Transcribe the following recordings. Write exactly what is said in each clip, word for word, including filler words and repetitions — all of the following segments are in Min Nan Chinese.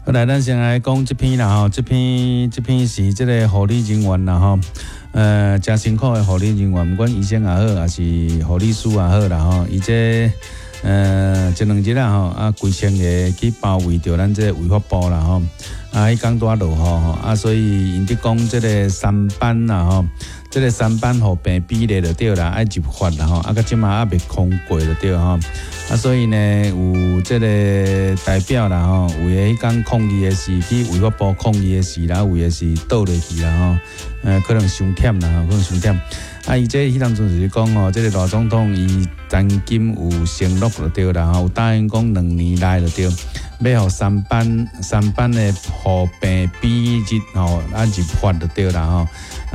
好來，咱先來講這篇啦吼，這篇這篇是這个護理人員啦吼，呃，誠辛苦的護理人員，毋管醫生也好，抑是護理師也好啦吼，伊這呃這兩日啊吼，啊幾千个去包圍著咱這个衛福部啦吼，啊，彼工拄仔落雨吼，啊，所以𪜶佇講這个三班啦吼，這个三班合病比例就對啦，愛入法啦吼，啊，到這馬猶未通過就對吼。啊，所以呢，有這个代表啦吼，有的彼工抗議的是去衛福部抗議的時啦，有的是倒落去啦吼，呃，可能傷忝啦吼，可能傷忝。啊，伊這彼當陣就是講吼，這个賴總統伊曾經有承諾就對啦吼，有答應講兩年內就對，欲予三班三班的護病比日吼啊入法就對啦吼。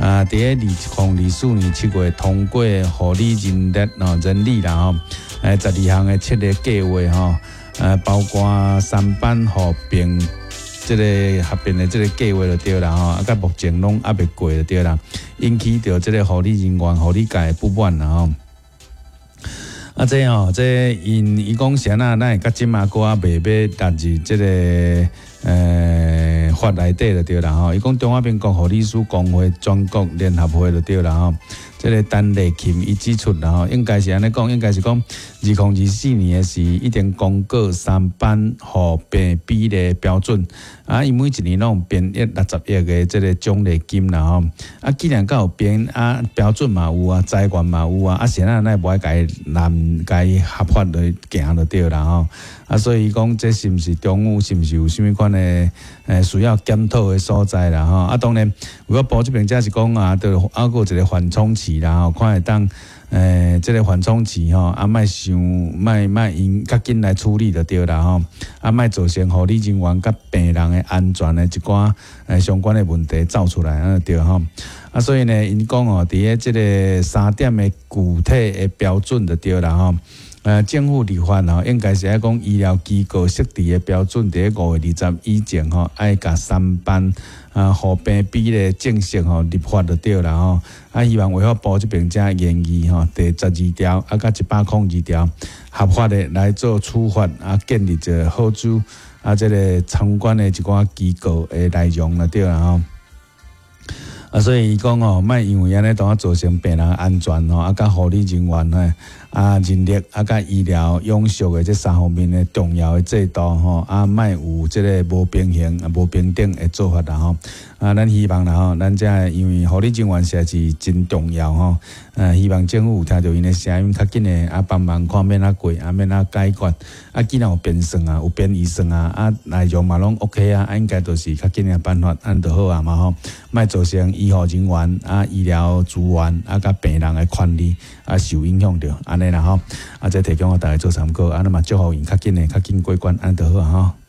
啊，佇咧二零二四年七月通過護理人力吼人力啦吼，誒，十二項的七个計劃吼，呃，包括三班合併這个合併的這个計劃就對啦吼，啊，到目前攏猶未過就對啦，引起著這个護理人員、護理界的不滿啦吼。啊，這吼，這𪜶伊講啥那，咱會到這馬閣猶未欲納入這个呃法內底就對啦吼。伊講中華民國護理師公會全國聯合會就對啦吼。這个陳麗琴伊指出啦吼，應該是按呢講，應該是講二零二四年的時已經公告三班護病比例標準，啊，伊每一年攏有編譯六十億的這个獎勵金啦吼。啊，既然閣有編啊標準嘛有啊，資源嘛有啊，啊是按怎會無愛共伊納共伊合法來行就對啦吼。啊，所以講這是毋是中央是毋是有啥物款的誒需要檢討的所在啦吼。啊，當然，衛福部這邊才是講啊，就猶閣有一个緩衝期啦吼，看會當誒這个緩衝期吼，啊，莫傷莫莫用較緊來處理就對啦吼，啊，莫造成護理人員佮病人的安全的一寡誒相關的問題走出來，按呢對吼。啊，所以呢，𪜶講哦，佇咧這个三點的具體的標準就對啦吼。呃，政府立法吼，應該是愛講醫療機構設置的標準，佇咧五月二十以前吼，愛共三班啊護病比例正式吼立法就對啦吼。啊，希望衛福部這邊才研議吼，第十二條啊，佮一百空二條合法的來做處罰啊，建立一个好處啊，這个相關的一寡機構的內容就對啦吼。啊，所以伊講吼，莫因為按呢，當啊造成病人安全吼，啊，佮護理人員吼，啊，人力啊，佮醫療永續的這三方面的重要的制度吼，啊，莫有這个無平衡、啊無平等的做法啦吼。啊，咱希望啦吼，咱這因為護理人員實在是真重要吼。呃，希望政府有聽著𪜶的聲音，較緊的啊幫忙看欲按怎過，啊欲按怎解決。啊，既然有編算啊，有編預算啊，啊內容嘛攏 OK 啊，啊應該就是較緊的辦法，按呢就好啊嘛吼。莫造成醫護人員啊、醫療資源啊、佮病人的權利啊受影響著，按呢啦吼。啊，這提供予大家做參考，啊，咱嘛祝福𪜶較緊的、較緊過關，按呢就好啊吼。